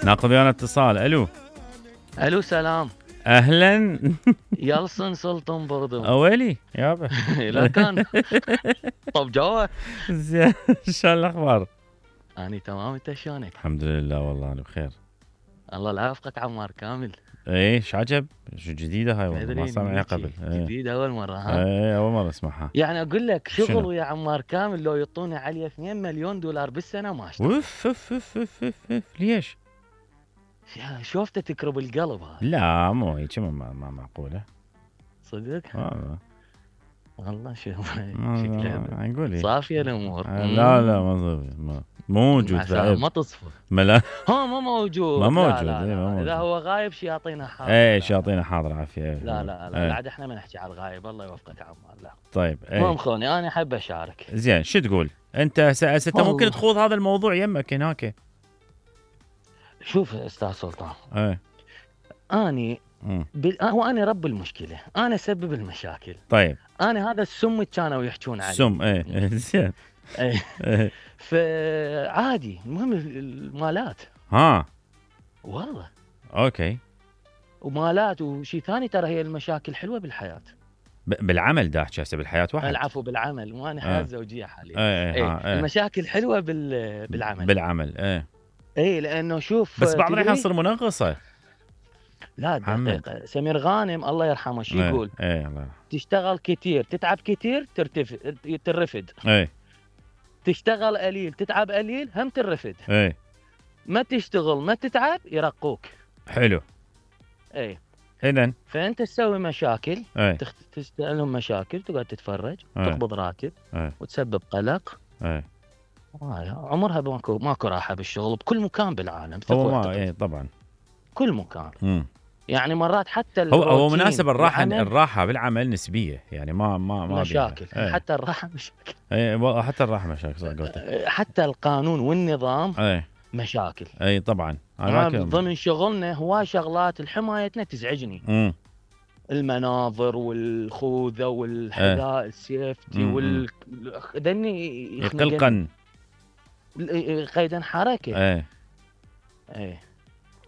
ناخذ ويانا اتصال. الو سلام. اهلا. يلصن سلطان بردو. اويلي يابا. لا كان. طب جوا. زين شو الاخبار؟ اني تمام، انت شلونك؟ الحمد لله والله انا بخير. الله لا يوفقك عمار كامل. ايه شو عجب؟ شو جديده هاي والله ما سامعها قبل. جديده اول مره ها؟ ايه اول مره اسمعها. يعني اقول لك شغل شنو؟ ويا عمار كامل لو يعطوني عليه 2 مليون دولار بالسنه ما اشتغل. اوف اوف اوف اوف اوف ليش؟ شوفته تكرب القلب هذا. لا مو هيك ما معقوله. صدق؟ والله شوف شكلها نقول صافيه الامور. لا ما موجود بعد. ما تصفى. لا ما موجود. ما موجود. لا اذا هو غايب شياطينه حاضر. ايه شياطينه حاضر عافيه. لا عاد احنا ما نحكي على الغايب. الله يوفقك عمار. لا طيب المهم خوني انا احب اشارك. زين شو تقول انت هسه ممكن تخوض هذا الموضوع يمك هناك. شوف استاذ سلطان. ايه اني هو انا رب المشكله، انا اسبب المشاكل. طيب انا هذا السم اللي كانوا يحكون عليه. سم ايه زين. ايه فعادي. المهم المالات. والله اوكي. ومالات وشيء ثاني ترى هي المشاكل حلوه بالحياه. بالعمل دا احكي هسه بالحياه واحد. العفو بالعمل وانا حياه زوجيه حاليا. ايه المشاكل حلوه بالعمل. ايه لانه شوف بس بعض الأحيان تصير منغصه. لا دقيقه. سمير غانم الله يرحمه شو يقول؟ الله يرحمه. تشتغل كثير تتعب كثير ترفد. تشتغل قليل تتعب قليل هم ترفد. ما تشتغل ما تتعب يرقوك. حلو. اذن فانت تسوي مشاكل. تستلهم مشاكل تقعد تتفرج. تقبض راتب. وتسبب قلق. عمرها ماكو راحه بالشغل بكل مكان بالعالم. هو ما طبعا كل مكان. يعني مرات حتى هو مناسب الراحه بالعمل نسبيه يعني ما مشاكل. حتى الراحه مشاكل. حتى الراحه مشاكل. حتى القانون والنظام مشاكل. طبعا ضمن شغلنا هواي شغلات الحمايتنا تزعجني. المناظر والخوذه والحذاء السيفتي ذني يقلقن قيدا حركه.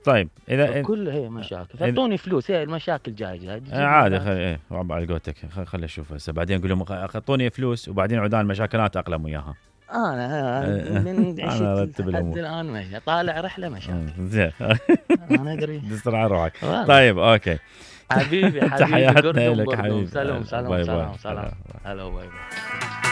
طيب اذا كل هي مشاكل. اعطوني فلوس. هي المشاكل جايه عادي. خلي على قولتك خلي اشوف هسه بعدين اقول لهم اعطوني فلوس وبعدين عدان المشاكلات اقلم وياها. انا من عشت لحد الان ماشي طالع رحله مشاكل. زين انا ادري تسرع روحك. طيب اوكي حبيبي تحياتنا لك حبيبي. سلام. هلا باي باي.